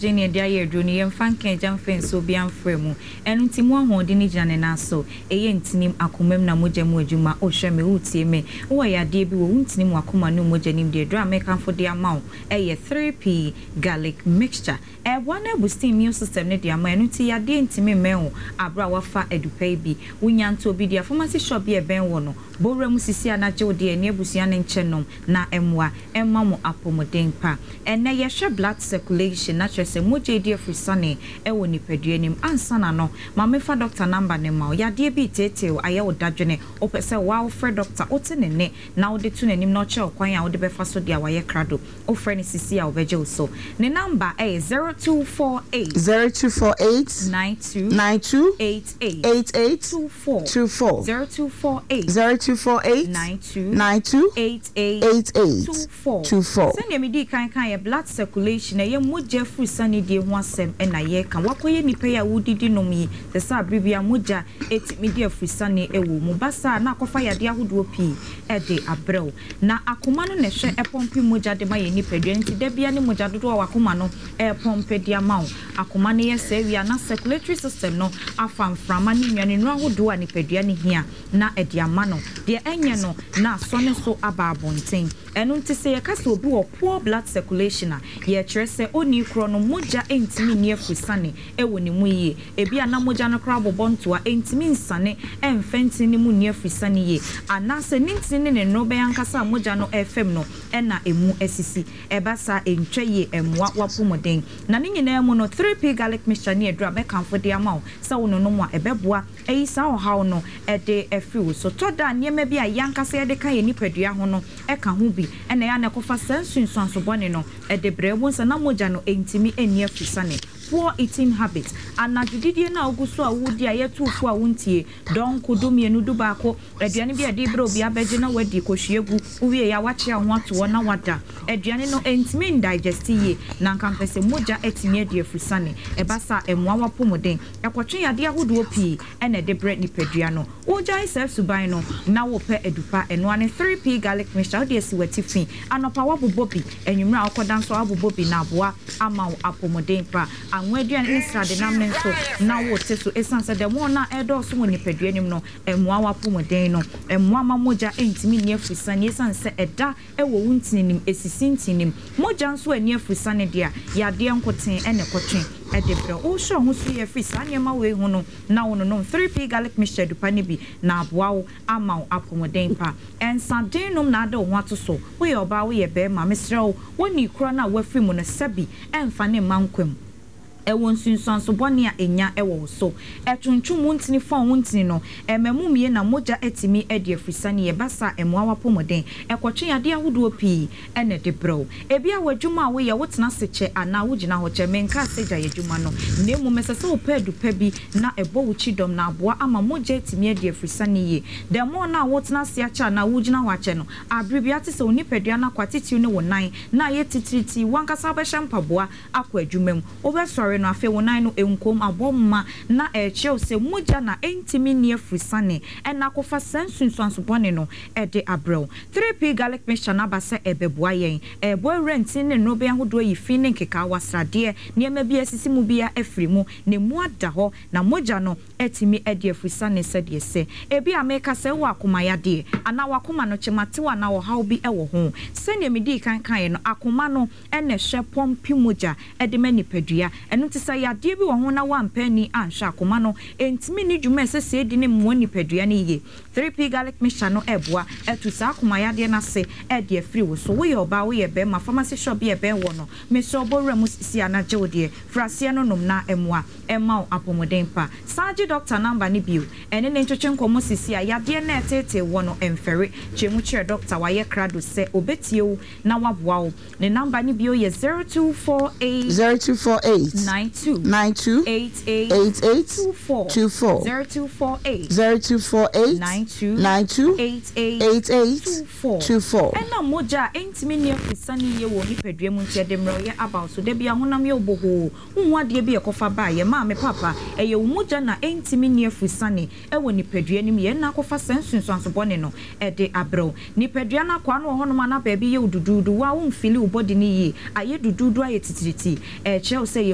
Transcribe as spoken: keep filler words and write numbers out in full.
Oxygen ne yɛde ayɛ aduro no, yɛmfa nka agya mfa nsuo bi amfra mu. Ɛno nti mu ahoɔden no gyina ne nan so. Ɛyɛ ntinim, akoma mu na mogya mu adwuma. Wohwɛ me, wotie me, wowɔ yadeɛ bi wɔ wo ntinim, wakoma ne mogya nim deɛ, aduro a mekamfo de ama wo ɛyɛ three P garlic mixture. Ɛboa no aboost immune system no de ama. Ɛno nti yadeɛ ntumi mmɛn wo aberɛ a wafa adupa yi bi. Wonya nto obi deɛ, pharmacy shop bi ɛbɛn wɔ no, bɔwura mu sisi anagye wo deɛ ne abusua no nkyɛn nom na ɛmmoa ɛma mo apɔmuden pa. Ɛnɛ yɛhwɛ blood circulation, na kyerɛ sɛ mogya edi afiri sane ɛwɔ nipadua nim. Ansa na no, ma mefa doctor number ne ma wo. Yadeɛ bi teetee ayɛ wo dadwene, wopɛ sɛ waa wofrɛ doctor, wote ne ne na wode to n'anim na ɔkyerɛ wo kwan a wode bɛfa so deɛ wayɛ krado, wofrɛ no sisi a wobɛgye wo so. Ne number ɛyɛ zero two four eight zero two four eight nine two nine two eight eight eight eight two four. two four. zero two four eight zero two four eight nine two nine two eight eight eight eight two four. two four. Sɛnea medi kan kan yɛ blood circulation, ɛyɛ mogya firi sane die ho asɛm ɛna yɛka. Wakɔyɛ nipa yi a wodidi nom yi sɛ sɛ abere bi a mogya ɛtumi di afiri sane ɛwɔ mu basa na akɔfa yadeɛ ahodoɔ pii ɛde abrɛw. Na akoma no na ɛhwɛ ɛpump mogya de ma yɛ nipadua, nti da bia ne mogya dodoɔ a wakoma no ɛpump de ama wo. Akoma no yɛ sɛ awia na circulatory system no afa mframa ne nnuane nnuro ahodoɔ a nipadua no hia na ɛde ama no. Deɛ ɛnyɛ no na asɔ ne so aba abɔnten. Ɛno nti sɛ yɛka sɛ obi wɔ poor blood circulation a, yɛkyerɛ sɛ ɔnii korɔ no mogya ntumi nni afusane ɛwɔ ne mu yie. Ebi a na mogya no koraa bobɔ ntoa, ntumi nsane ɛmfɛ ntini ne mu nni afusane yie, anaasɛ ne ntini ne ne nnuro ankasa a mogya no ɛfam no ɛna emu asisi. Ɛba saa, ntwa yie, ɛmmoa wapɔmuden. Na ne nyinaa mu no, three P garlic mixture ne aduru a mɛkamfo de ama wo sɛ wo nonom a ɛbɛboa ɛyi saa ɔhaw no ɛde afiri wo so. Tɔ da nneɛma bi a yɛankasa yɛde ka yɛ nipadua ho no ɛka ho bi ɛna ɛyɛ a na ɛkɔfa saa nsunsuanso bɔne no ɛde brɛ wo nsa na mogya no ɛntumi ɛnni afusane. Poor eating habit, anadwo didie no a wogu so a wodi a yɛto fo a wontie, dɔnko du mmienu, du baako, aduane bi a yɛde brɛ obi abɛgye na wadi kɔhwie gu, wowie yɛ a wakyea ho ato hɔ na wada. Aduane no ɛntumi ndigest yie na nka mpɛ sɛ mogya atumi adi afusane. Ɛba saa, ɛmmoa wapɔmuden, ɛkɔtwe yadeɛ ahodoɔ pii ɛna ɛde brɛ nipadua no. Wogyae saa suban no na wopɛ adupa, ɛnoa ne three P garlic mixture. Wode asi w'atifi anɔpa, woabobɔ bi, anwummerɛ a wokɔda nso woabobɔ bi na aboa ama wo apɔmuden pa. Anwa aduane ne sradenam ne nso na wote so, ɛsiane sɛ dɛm no a ɛdɔɔso wɔ nipadua nim no ɛmmoa w'apɔmuden no, ɛmmoa ma mogya ɛntumi nni afusane, ɛsiane sɛ ɛda ɛwɔ wo ntininim, ɛsisi ntinim. Mogya nso ani afusane deɛ a, yadeɛ nkoten ɛna ɛkɔtwe ɛde brɛ. Wohyɛ ho so yɛ firi saa nneɛma wei ho no na wo nonom three P garlic mixture dupa no bi na aboa wo ama wo apɔmuden pa. Ɛnsaden nom na ade wo ho ato so. Woyɛ ɔbaa, woyɛ bɛrima, mesrɛ wo, woni korɔ no a woafiri mu no, sɛbi, ɛmfa ne mma nkwam. Ɛwɔ nsunsuanso bɔne a ɛnya ɛwɔ wo so. Ɛtontwom wo ntini, fɔn wo ntini no, ɛma mu mie na mogya atumi adi afusane yɛ basa. Ɛmmoa wapɔmuden, ɛkɔtwe yadeɛ ahodoɔ pii ɛna ɛde brɛ wo. Ebi a w'adwuma a woyɛ, wotena ase kyɛ anaa wogyina hɔ kyɛ, menka sɛ gya yɛ adwuma no, na mmom ɛsɛ sɛ wopɛ adupa bi na ɛbɔ wo kyidɔm na aboa ama mogya atumi adi afusane yie. Dɛmɔ no a wotena ase akyɛ anaa wogyina hɔ akyɛ no, abere bi ate sɛ wo nipadua no akɔ atitiriw ne wo nan na ayɛ titiriti. Wankasa wobɛhyɛ mpaboa akɔ adwuma mu, wobɛsɔre no, afei wo nan no nkom abɔ mma na ɛkyerɛw sɛ mogya na ɛntumi nni afusane ɛna akɔfa saa nsunsuanso bɔne no ɛde abrɛw. three P garlic mixture no aba sɛ ɛbɛboa yɛn, ɛɛbɔ awura ntin ne nnuro ahodoɔ yi fi ne nkekaawa, sradeɛ, nneɛma bi asisi mu bia afiri mu na emu ada hɔ na mogya no atumi adi afusane sɛdeɛ sɛ ebi a meka sɛ wɔ akoma yadeɛ anaa wakoma no kyematew anaa ɔhaw bi wɔ ho. Sɛnea medii kan kaeɛ no, akoma no ɛna ɛhyɛ pump mogya ɛde ma nipadua. Ɛno nti sɛ yadeɛ bi wɔ ho na wampɛ ani anhwɛ, akoma no ɛntumi ne dwuma a ɛsɛ sɛ ɛdi ne mmoa nipadua no yie. three P garlic mixture no ɛboa ɛtu saa akoma yadeɛ no ase ɛde afiri wo so. Woyɛ ɔbaa, woyɛ bɛrima, pharmacy shop bi ɛbɛn wɔ no, mesrɛ ɔbɔ wura mu sisi anagye wo deɛ, fraseɛ no nom na ɛmoa ɛma wo apɔmuden pa. San gye doctor number no bio, ɛne ne ntwetwe nkɔmmɔ sisi a yadeɛ na ɛtetee wɔ no ɛmfɛre. Kyerɛ mu kyerɛ doctor, wayɛ krado sɛ obɛtie wo na waboa wo. Ne number no bio yɛ zero two four eight zero two four eight nine two nine two eight eight eight eight two four. two four. zero two four eight zero two four eight nine two nine two eight eight eight eight two four. two four. Ɛna mogya a ɛntumi nni afusane yie wɔ nipadua mu nti ɛde mmerɛwyɛ aba wo so. Da bi ahonam yɛ obohoo, wohu adeɛ bi ɛkɔfa baa yɛ maame papa, ɛyɛ wo mogya na ɛntumi nni afusane ɛwɔ nipadua no mu yɛn na akɔfa saa nsunsuanso bɔne no ɛde abrɛw. Nipadua no akwaa no wɔ hɔnom a na baabi yɛ wo duduudu, wo a womfeel wo body no yie, ayɛ duduudu, ayɛ titiriti, ɛkyerɛ wo sɛ yɛ